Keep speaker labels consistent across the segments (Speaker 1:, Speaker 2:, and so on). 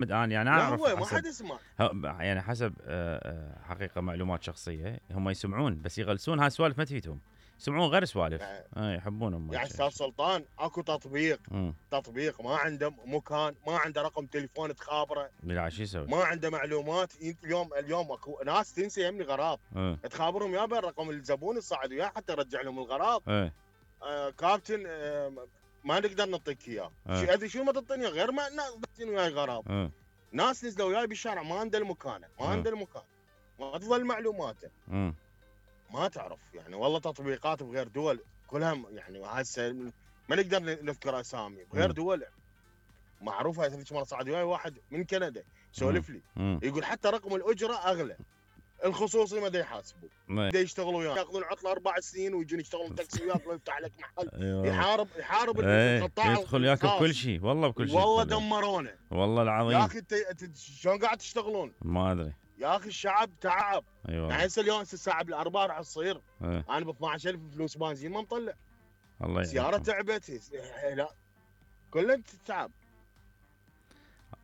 Speaker 1: يعني انا
Speaker 2: لا
Speaker 1: اعرف
Speaker 2: هو ما حد يسمع.
Speaker 1: يعني حسب حقيقه معلومات شخصيه، هم يسمعون بس يغلسون، هاي سوالف ما تفيدهم، يسمعون غير سوالف. يحبونهم.
Speaker 2: يعني استاذ سلطان اكو تطبيق ما عنده مكان، ما عنده رقم تليفون تخابره،
Speaker 1: لا شو يسوي؟
Speaker 2: ما عنده معلومات. اليوم اكو ناس تنسى يمني غراض، تخابرهم يا رقم الزبون الصعد وياه حتى يرجع لهم الغراض. كابتن ما نقدر نعطيك اياه. ادري شو ما تعطيني غير ما ناس وياي غراض. ناس نزلوا وياي بالشارع ما عنده المكان، ما تظل معلوماته. ما تعرف يعني والله تطبيقات بغير دول كلها يعني هسه ما نقدر نذكر اسامي بغير دول معروفه. هذيك مره صعد وياي واحد من كندا سولف لي يقول حتى رقم الاجره اغلى، الخصوصي ما دا يحاسبوا، دا يشتغلوا وياه ياخذون عطله 4 سنين ويجون يشتغلون تاكسي وياك ويفتح لك محل. يحارب القطاع،
Speaker 1: يدخل ياك بكل شيء، والله بكل شيء،
Speaker 2: والله دمرونا
Speaker 1: والله العظيم.
Speaker 2: يا اخي شلون قاعد تشتغلون؟
Speaker 1: ما ادري
Speaker 2: يا اخي الشعب تعب. يعني هسه اليوم الساعه بالاربعه راح تصير انا ب 12000 فلوس بنزين ما مطلع.
Speaker 1: الله
Speaker 2: سياره تعبت، لا كله تعب.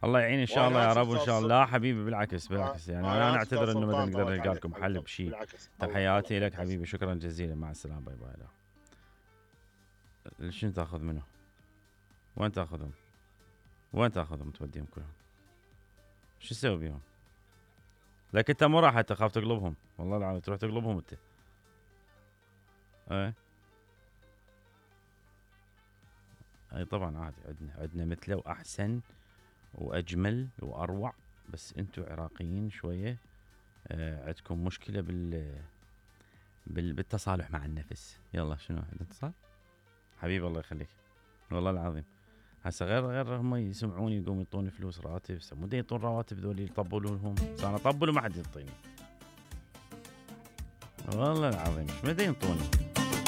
Speaker 1: الله يعين ان شاء الله يا رب. وان شاء الله لا حبيبي، بالعكس يعني انا اعتذر انه ما نقدر نلقى لكم حل بشيء. تحياتي لك حبيبي، شكرا جزيلا، مع السلامه، باي باي. شنو تاخذ منه؟ وين تاخذهم؟ توديهم كلهم؟ شو تسوي بيهم؟ لك انت مو راح تخاف تقلبهم، والله العظيم تروح تقلبهم انت. اي طبعا عادي، عندنا مثله واحسن واجمل واروع، بس انتم عراقيين شويه عندكم مشكله بالتصالح مع النفس. يلا شنو عندنا اتصال؟ حبيبي الله يخليك، والله العظيم. هسه غير هم يسمعوني يقوموا يعطوني فلوس راتب، مو يعطون رواتب ذولي يطبلوا لهم، انا اطبل وما حد يعطيني، والله العظيم ما ينطوني.